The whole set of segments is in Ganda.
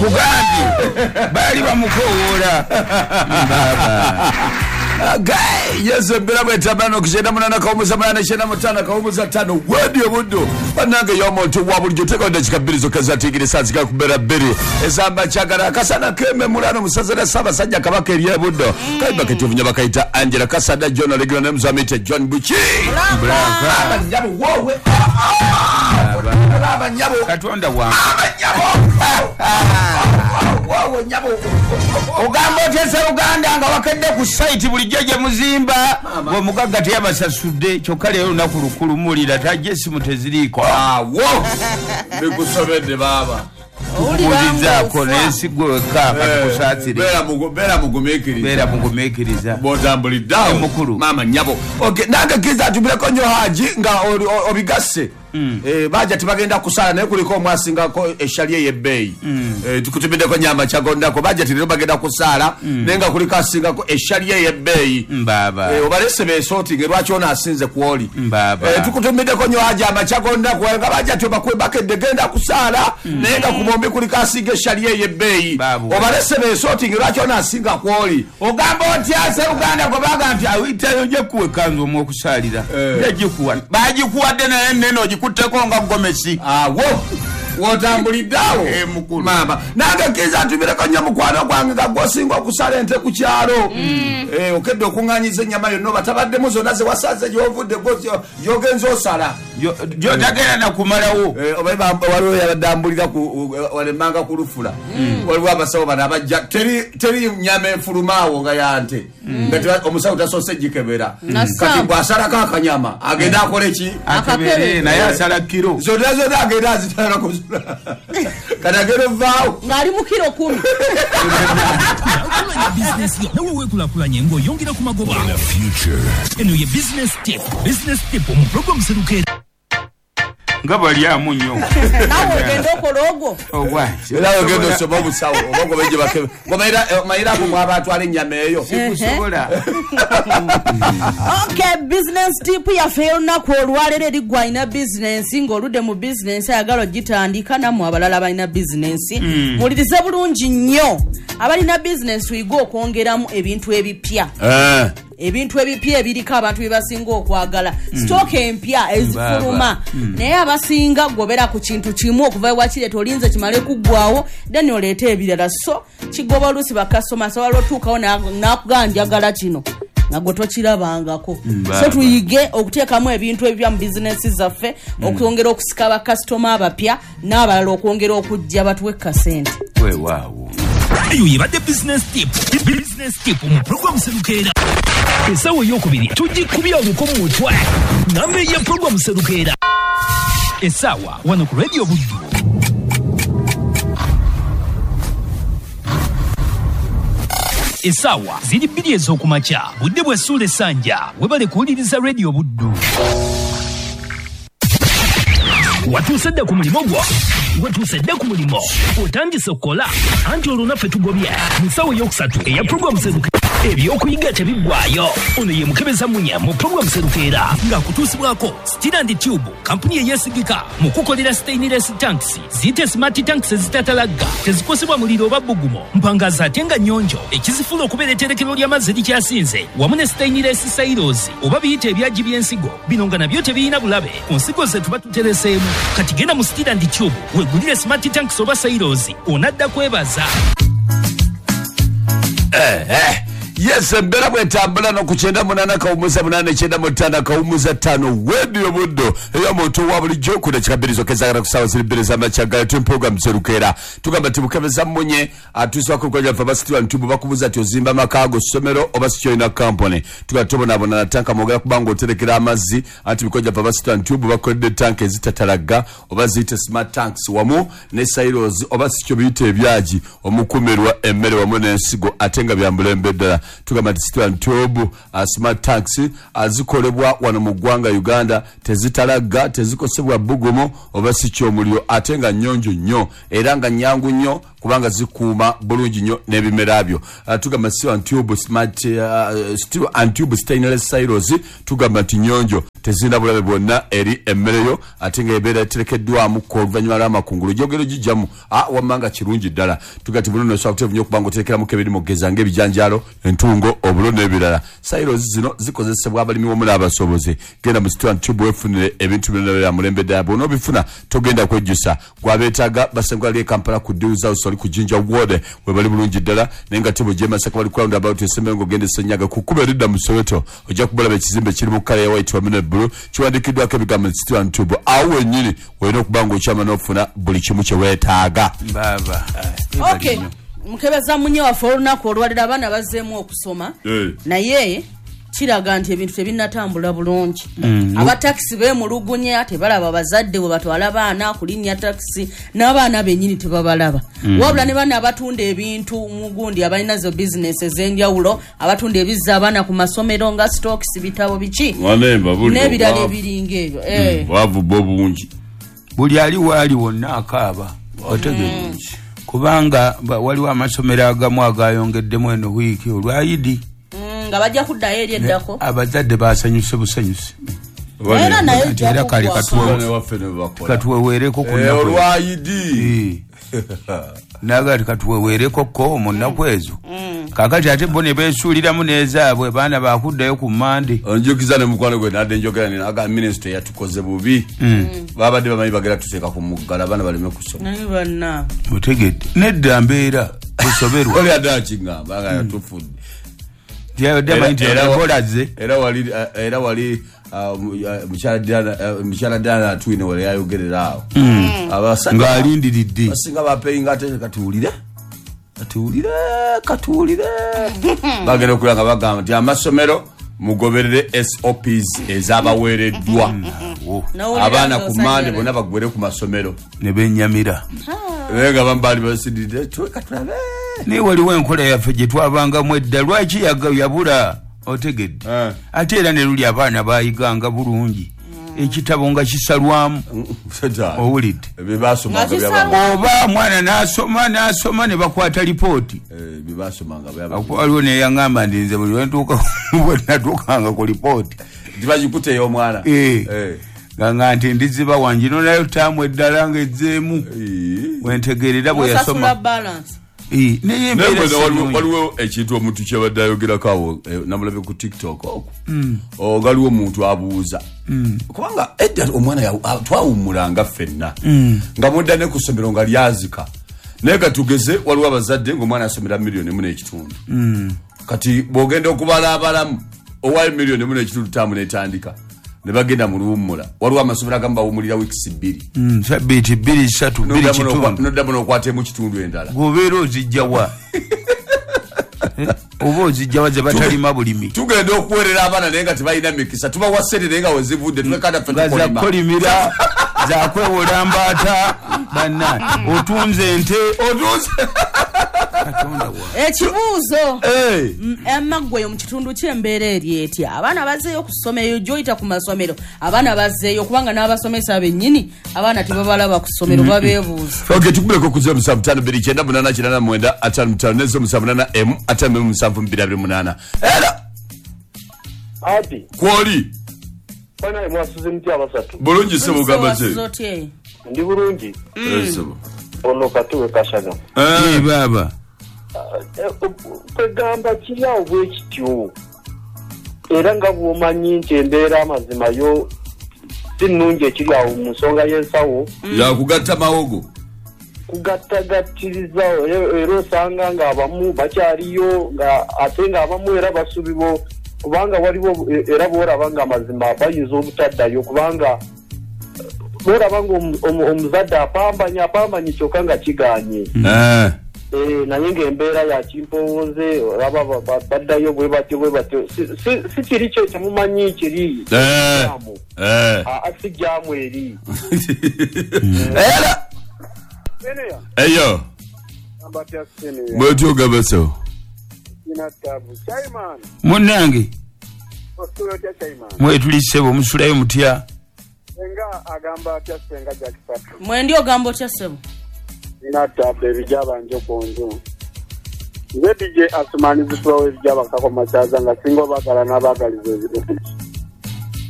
Nkugambye baali bamukowoola. Yesu embeera bwetambula okukyenda munana kawumuza munana kyenda mutaano kawumuza ttaano wedi obuddu bannange y'omuntu wa bulijjo teekawo eddakiika bbiri zokka zatigire saa zigala kubeera bbiri ezamba kyagala akasana kememulano musaza lya Ssaabasajja Kabaka eryebuddo kayimba ketuvunya bakayita Angela Kasada John Olegero ne Muzamite John Buki abanyabo wowe abanyabo Katonda wange abanyabo wowe nyabo ogamba otya Uganda nga wakedde ku site bulijjo gye muzimba omugagga teyabasasudde kyokka leero olunaku lukulu muwulira tajja essimu teziriiko. Awo bikusobedde baaba. Tukubuulizaako naye si gwe wekka katukusaasire. Beera mugumiikiriza. Beera mugumiikiriza. Bw'otambulidde awo. Mukulu. Maama nnyabo. Okay, nange kkiriza atumireko nnyo Haji nga obigasse. Baja tebagenda kusala naye kuliko omwasingako eshali ey'ebbeeyi. Tukutumiddeko nyama kyagondako baja leero bagenda kusaala naye nga kuliko asingako eshali ey'ebbeeyi. Obalese beesootinge lwaki ono asinze kwoli. Tukutumiddeko nnyo Haji amakyagondako nga baja tebakwebaka genda kusaala naye nga ku bombi kuliko asinga eshali ey'ebbeeyi. Obalese beesootinge lwaki ono asinga kwoli. Ogamba otya Uganda gwe baga nti awitayo ojja kuwa ekkanzu omw'okusaalira. Yagikuwa. Baagikuwadde naye nnene ogikutteko nga gomesi. Awo wotambulidde awo maama nange kkiriza ntumireko nnyo mukwano gwange nga gwosinga okusala ente ku kyalo. Okedde okuŋŋaanyiza ennyama yonna obatabaddemu zonna ze wasaze gy'ovudde gy'ogenza osala gy'otagenda nakumalawo. Waliwo yabadde ambulira walemanga ku lufula waliwo abasawo bano abajja teri nyama enfulumaawo nga ya nte nga omusawo tasoose gikebera kati bw'asalako akanyama agenda akole ki akebere naye asala kiro zonna zonna agenda azitalako kati agenda ovaawo ng'ali mu kiro 10. Bizinesi nawe weekulaakulanye ng'oyongera ku magoba. Eno ye business tip. Business tip mu program Serukeera. Nga balyamu nnyo. Nawe ogenda okola ogwo. Era ogenda osoma obusawo oba gobe gye bakebe. Mayira ako mwaba atwala ennyama eyo. Sikusobola. Okay, business tip yaffe y'olunaku olwaleero eri gwe alina bizinensi ng'oludde mu bizinensi ayagala ogitandika nammwe abalala balina bizinensi. Muwulirize bulungi nnyo. Abalina bizinensi tuyige okwongeramu ebintu ebipya. Ebintu ebipya ebiriko abantu bye basinga okwagala. Sitooka empya ezifuluma. Naye abasinga gobera ku kintu kimu okuva wakireeta olinze kimale kuggwawo then oleete ebirala. So kigoba oluusi bakasitoma asobola otuukawo n'akugamba njagala kino nga gwe tokirabangako. So tuyige okuteekamu ebintu ebipya mu bizinensi zaffe okwongera okusika bakasitoma abapya n'abalala okwongera okujja batuwe kasente. Weewaawo. Eyo yebadde business tip. Business tip mu program Serukeera. Essaawa ey'okubiri tugikubya oluko mu mutwe. Namba ya program Serukeera. Essaawa wano ku Radio Buddu. Essaawa ziri 2 ez'okumakya. Budde bwa ssuula essanja. Webale kuwuliriza Radio Buddu. Watuuse dda ku mulimu gwo. Watuuse dda ku mulimu. Otandise okukola. Anti olwo naffe tugobye. Mu ssaawa ey'okusatu eya program Serukeera. Ebyokuyiga tebiggwaayo. Ono ye mukebeza munya mu program Serukeera ng'akutuusibwako Steel and Tube, kampuni eyeesigika mu kukolera stainless tanks, ziyite smart tanks ezitatalagga, tezikosebwa muliro oba bbugumo, mpangazi ate nga nnyonjo, ekizifuula okubeera etterekero ly'amazzi erikyasinze, wamu ne stainless silos oba biyite ebyagi by'ensigo, bino nga nabyo tebirina bulabe ku nsigo ze tuba tutereseemu. Kati genda mu Steel and Tube weegulire smart tanks oba silos, onadda kwebaza. Yes, embeera bwetambula n'okukyenda munana kawumuza munana kyenda mutaano kawumuza ttaano wedi obuddo ey'omuntu wa bulijjo ku dakiika bbiri zokka ezaagala ku ssaawa ziri 2 z'amakya ga tuli program Serukeera. Tugamba nti mukebeza mmunye atuusibwako olukwajja lwaffe aba Steel and Tube bakubuuza nti ozimba amaka go ssomero oba si kyolina kampuni. Tugamba tobonaabona na tanka mwogera kubanga oterekera amazzi anti mikwajja lwaffe aba Steel and Tube bakoledde tanka ezitatalagga oba ziyite smart tanks wamu ne silos oba si kyo biyite ebyagi omukumirwa emmere wamu n'ensigo ate nga bya mulembe ddala. Tugamba nti Steel and Tube smart tanks azikolebwa wano mu ggwanga Uganda tezitalagga tezikosebwa bbugumu oba si ky'omuliro ate nga nnyonjo nnyo era nga nnyangu nnyo kubanga zikuuma bulungi nnyo n'ebimera byo. Tugamba Steel and Tube smart Steel and Tube stainless silos tugamba nti nnyonjo Tezirina bulabe bwonna eri emmere yo, ate nga ebeera eterekeddwamu oluvannyuma lw'amakungulu gyogero gijjamu wamma nga kirungi ddala. Tugati buno nosobola kuteevu nnyo okubanga oterekeramuko ebirimu okugeza ng'ebijanjaalo, entungo, obulo n'ebirala. Silos zino zikozesebwa abalimi wamu n'abasuubuzi. Genda mu Steel and Tube weefunire ebintu byonna bya mulembe ddala. Bw'onoobifuna togenda kwejjusa. Gwabeetaaga basangibwa ali e Kampala ku Deals House oli ku Jinja Ward we bali bulungi ddala, naye nga tebo gy'e Masaka bali ku roundabout esembeyo ng'ogenda e Ssenyaga ku kkubo eridda mu Soweto. Ojja kubalaba ekizimbe kiri mu kkala ya white wamu ne blue, kiwandiikiddwako ebigambo nti Steel and Tube. Awo wennyini olina okuba ng'okyama n'ofuna buli kimu kye weetaaga. Baaba. Okay, mukebeza munye waffe olunaku olwaliro abaana bazzeemu okusoma, naye kiraga nti ebintu tebinnatambula bulungi. Abatakisi beemulugunya, tebalaba bazadde bwe batwala baana kulinnya takisi, n'abaana bennyini tebabalaba. Wabula ne bano abatunda ebintu mu gundi, abalina zo bizinesi ez'enjawulo, abatunda ebizza abaana ku masomero nga stocks, bitabo, biki n'ebirala ebiringa ebyo. Bwavu bwo bungi. Buli ali waali wonna akaaba, otegeera, kubanga waliwo amasomero agamu agayongeddemu eno wiiki olwayidi nga bajja kuddayo eri eddako. Abazadde basanyuse busanyusi. Era naye Nti era kale katuweweereko ku nnaku olwayidi. Naga ti katuweweereko ko mu nnaku ezo. Kaakati ate bo ne beesuuliramu n'ezaabwe, baana bakuddayo ku Mande. Onjukiza ne mukwano gwe nadde njogera nina aga minisitule yatukoze bubi. Babadde bamanyi bagenda tuteeka ku muggalo abaana baleme kusoma. Naye banna otegedde nedda mbeera kusoberwa. Oli adde akingamba nga yatufudde. Tiyabadde amanyi nti ebolaze. Era wali mukyala Diana Atwine wali yayogerera awo. Abasajja ng'alindiridde. Basinga bapeyinga ate katuwulire. Katuwulire, katuwulire. Bagenda okulaba nga bagamba nti amasomero mugoberere SOPs ezabaweereddwa. Abaana ku Mande bonna bagwere ku masomero. Ne bennyamira. Naye nga bamu baali basiridde, katulabe. Naye waliwo enkola yaffe gye twabangamu edda, lwaki yabula otegedde? Ate era ne luli abaana baayiganga bulungi. Ekitabo nga kisalwamu. Owulidde. Bye baasomanga Nga byaba- Oba mwana n'asoma n'asoma ne bakwata lipooti. Bye baasomanga byaba- Waliwo neyaŋŋamba nti nze buli bwe natuukanga ku lipooti. Tibagikutte ey'omwana. Nga nti ndiziba wangi nayo taamu eddala ng'ezzeemu. Wentegeerera bwe osasula yasoma. balance. Naye Naye embeera bwena si nnungi. Waliwo ekintu omuntu kyabadde ayogerako awo, namulabye ku TikTok okwo. Waliwo omuntu abuuza kubanga edda omwana twawummulanga ffenna nga mudda ne ku ssomero nga lyazika, naye katugeze waliwo abazadde ng'omwana asomera 1.5 million. Kati bw'ogenda okubala abalamu owayo 1.5 million taamu netandika ne bagenda mu luwummula. Waliwo amasomero agamu bawummulira wiikisi 2. Sabbiiti 2, 3, 2.5. Noddamu n'okwatemu kitundu endala. Gwobeera ozijjawa? Oba ozijjawa ze batalima bulimi? Tugenda okuweerera abaana naye nga tebalina mikisa. Tubawa ssente naye nga wezivudde tulekanda ffe Nga tukolima. zakukolimira, zakwewola mbaata, banna otunze ente. Otunze. Katonda wa Ekibuuzo, emaggweyo mu kitundu ky'embeera eri etya? Abaana bazzeeyo ku ssomero? Gyoyita ku masomero abaana bazzeeyo? Kubanga n'abasomesa bennyini abaana tebabalaba ku ssomero, babeebuuza. Ok, tukubireko ku 0752988955 ne 078 m 57 228 era. Ati Kwoli. Banaye mwasuze mutya abasatu? Bulungi sebo, gamba ki? Wasuze otya? Ndi bulungi. Sebo. Ono katuwe kashaga. Baaba. Kwegamba kiri awo bwe kityo, era nga bw'omanyi nti embeera amazima yo si nnungi ekiri awo mu nsonga y'ensawo. Yakugatta mawogo. Kugattagattiriza era osanga ng'abamu bakyaliyo, nga ate ng'abamu era basubibwa, kubanga waliwo era bw'olaba nga amazima bayinza obutaddayo, kubanga bw'olaba nga omuzadde apambanye apambanye kyokka nga kiganye. Naye ng'embeera ya kimpowooze, olaba baddayo bwe batyo bwe batyo. Si kiri kyo temumanyi kiri jaamu. Aa, si jaamu eri. Era eyo bwetyo sebo. Munnange, mwetuli ssebo, musulayo mutya? Senga agamba atya senga Jakisatu? Mwendi, ogamba otya ssebo? Nina tabu ebijaba njo ku nju. Nze DJ Asumani zitulawo ebijaba kako makyaza nga singa obagala n'abaagaliza ebirungi.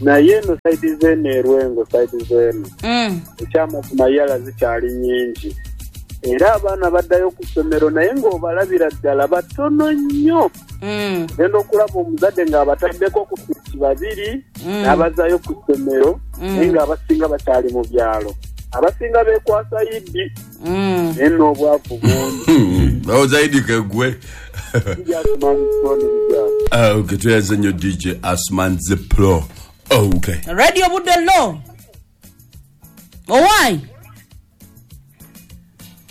Naye eno side z'eno erwengo side z'eno ekyamazima yala zikyali nnyingi, era abaana baddayo ku ssomero naye ng'obalabira ddala batono nnyo. Genda okulaba omuzadde ng'abataddeko ku piki 2 n'abazaayo ku ssomero, naye ng'abasinga bakyali mu byalo, abasinga beekwasa yiddi naye n'obwavu bungi. Bawoza yiddi kegwe. Okay, tweyaze nnyo DJ Asman the Pro. Okay. Radio Buddo lo. Owai.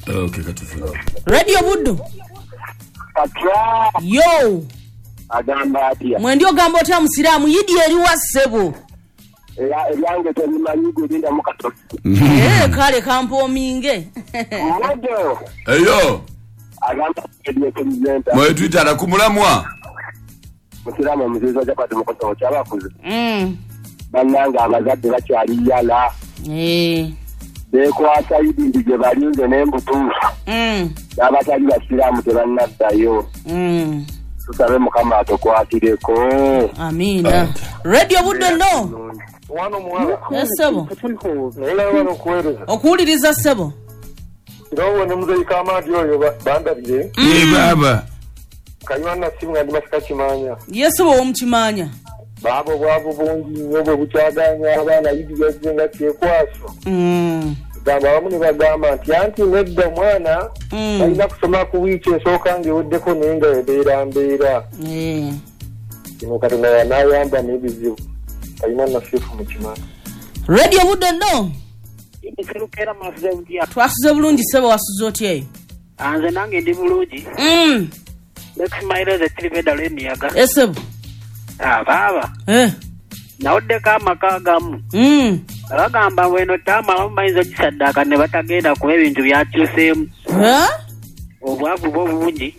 Okay, katufuna. Radio Buddo. Atya. Yo. Agamba atya. Mwendio gamba otya musiramu yidi eriwa ssebo. Eryange terimanyi gwe mu Katolika. Kale kampoominge. Mwodo. Eyo. Agamba ediye president. Mwe twitara kumulamwa. Musiramu muzizo chapati mukoso kyabakuze. Bannange abazadde bakyali yala. Beekwasa yidi gye balinze n'embutuufu. N'abatali basiraamu tebannaddayo. Tusabe Mukama atukwatireko. Amiina. Radio Buddo lo. Wano muwala. Ssebo. Okuwuliriza ssebo. Kirowo ne muzeeyi Kamadi oyo bandabire. Baba. Kayima nasimu nga ndi masika kimanya. Yesu bo omukimanya. Babo bwavu bungi nnyo bwe bukyaganya abaana yidi yazze nga kyekwaso. Gamba abamu ne bagamba nti anti nedda omwana balina kusoma ku wiiki esooka ng'eweddeko naye nga ebeera mbeera. Kino Katonda yanaayamba n'ebizibu. Kayima nasifu mu kimanya. Radio Buddo lo. Twasuze bulungi ssebo, wasuze otya eyo? Nze nange ndi bulungi. Lexmaireze tiribeda lw'emiyaga. Esebo. Baaba. Nawuddeko amaka agamu. Bagamba bweno taama abamu bayinza ogisaddaaka ne batagenda kuba ebintu byakyuseemu. Obwavu bwo bungi.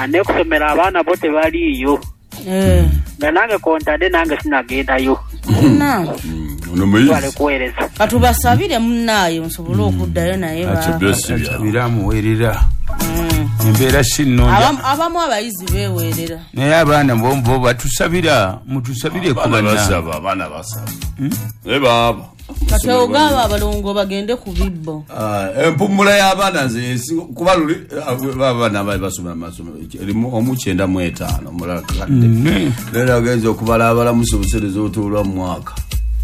N'okusomera abaana bo tebaliiyo. Nga nange kontadde nange sinagendayo. Ono muyizi. Katubasabire munnaayo nsobole okuddayo naye basabire amuweerera. Embeera si nnungi. Abamu abayizi beeweerera. Naye abaana bo batusabira, mutusabire ku banna. Abaana basaba. Naye baaba. Kati ogamba abalongo bagende ku bibbo. Empumula y'abaana nze kuba luli abaana bali basoma amasomero erimu omu 95 omulala kakadde. Leero agenze okubala abalamusa obuseereza obutuulwa mu mwaka.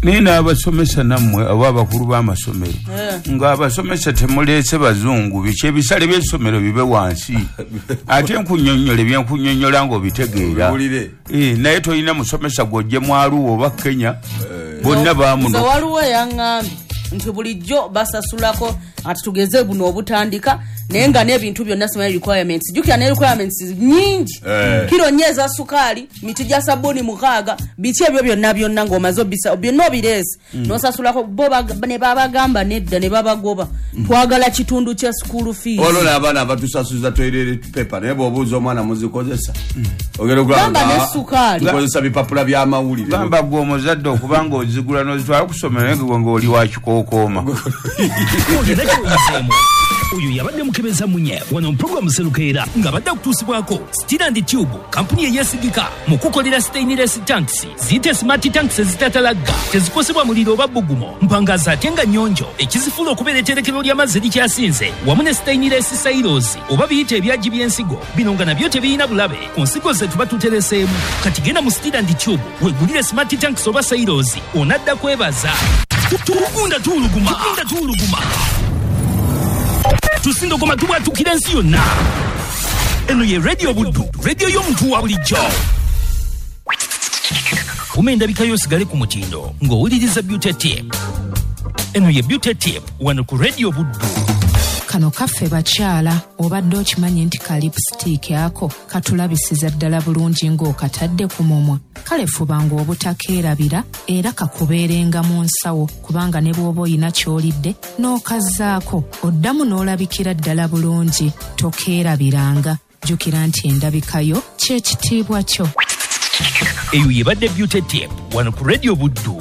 Naye n'abasomesa nammwe oba abakulu b'amasomero ng'abasomesa temuleese bazungu, biki ebisale by'essomero bibe wansi. Ate nkunnyonnyola ebyenkunnyonnyola ng'obitegeera. Naye tolina musomesa gw'ojje mu Arua oba Kenya, bonna baamuno. Nze waliwo eyaŋŋambye nti bulijjo basasulako ati tugeze buno obutandika naye nga n'ebintu byonna simanyi requirements. Jjukira ne requirements nnyingi. Kiro 4 eza sukaali, miti gya sabbuuni 6, biki ebyo byonna byonna ng'omaze obisa byonna obireese. N'osasulako bo ne babagamba nedda ne babagoba. Twagala kitundu kya school fees. Olwo n'abaana abatusasuza toilet paper naye bw'obuuza omwana muzikozesa. Ogenda okulaba ne sukaali. Tukozesa bipapula by'amawulire. Gamba gwe omuzadde okuba ng'ozigula n'ozitwala ku ssomero naye gwe ng'oli wa kikookooma. Oyo yabadde mukebeza munye wano program Serukeera nga badde kutuusibwako Steel and Tube, kampuni eyeesigika mu kukolera stainless tanks, ziyite smart tanks ezitatalagga, tezikosebwa muliro oba bbugumo, mpangaza ate nga nnyonjo, ekizifuula okubeera etterekero ly'amazzi erikyasinze, wamu ne stainless silos oba biyite ebyagi by'ensigo, bino nga nabyo tebirina bulabe ku nsigo ze tuba tutereseemu. Kati genda mu Steel and Tube weegulire smart tanks oba silos, onadda kwebaza. Tugunda tuuluguma, tugunda tuuluguma. Tusindogoma tubwatukira ensi yonna. Eno ye Radio Buddu, radio y'omuntu wa bulijjo. Kuma endabika yo osigale ku mutindo ng'owuliriza Beauty Tip. Eno ye Beauty Tip wano ku Radio Buddu. Kano kaffe bakyala, obadde okimanyi nti ka lipstick ako katulabisiza ddala bulungi ng'okatadde ku mumwa. Kale fuba ng'obutakeerabira era kakubeerenga mu nsawo, kubanga ne bw'oba oyina ky'olidde n'okazzaako oddamu n'olabikira ddala bulungi. Tokeerabiranga, jjukira nti endabikayo ky'ekitiibwa kyo. Eyo yebadde Beauty Tip wano ku Radio Buddu.